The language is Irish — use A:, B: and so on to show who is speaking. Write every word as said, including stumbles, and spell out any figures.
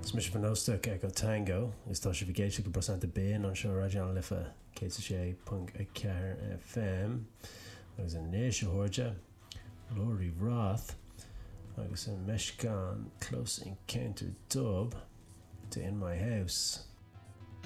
A: Is mise bhur n-óstach Echo Tango is tá sibh ag éisteacht le Brosanta Binn anseo ar Raidió na Life céad a sé ponc a ceathair FM agus anois a chairde Lori Roth agus an meascán Close Encounter Dub de In My House.